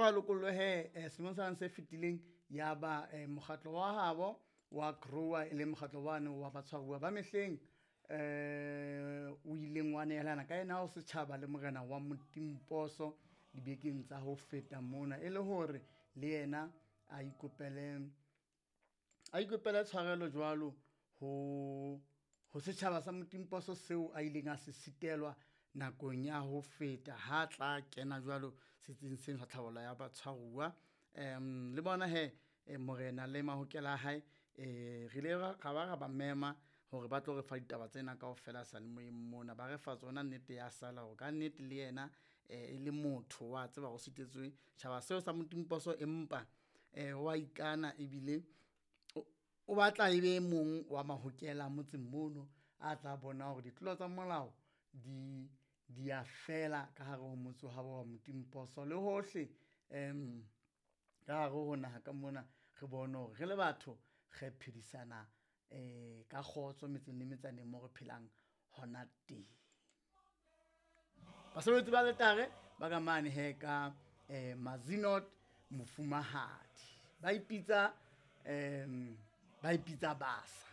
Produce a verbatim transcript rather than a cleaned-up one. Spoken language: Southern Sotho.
hore a lokollwe he eh, selemong sena se fetileng ya ba eh, mokgatlo wa habo wa grower e leng mokgatlo wane wa batshwaruwa ba mehleng eh o ileng wa nehelana ka yena ho setjhaba le morena wa Motimposo dibekeng tsa ho feta mona e le hore le yena a ikopele a ikopele tshwarelo jwalo ho ho setjhaba sa Motimposo seo a ileng a se sitelwa nakong ya ho feta ha tla kena jwalo setsing seno sa tlhabollo ya batshwaruwa. Um le bona he eh, morena le mahokela a hae eh re ile ra ra ba ra ba mema hore ba tlo re fa ditaba tsena kaofela seyalemoyeng mona ba re fa tsona nnete ya sala hore ka nnete le yena eh, e le motho wa tseba hore o sitetswe tjhaba seo sa Motimposo empa eh wa ikana ebile o- o batla e be e mong wa mahokela motseng mono a tla bona hore ditlolo tsa molao di di a fela ka hare ho motse wa habo wa Motimposo le hohle um ka hare ho naha ka mona re bone hore re le batho re phedisana um ka kgotso metseng le metsaneng mo re phelang hona teng. Basebetsi ba letare ba ka mane he ka um Mazinot Mofumahadi ba ipitsa um ba ipitsa basa.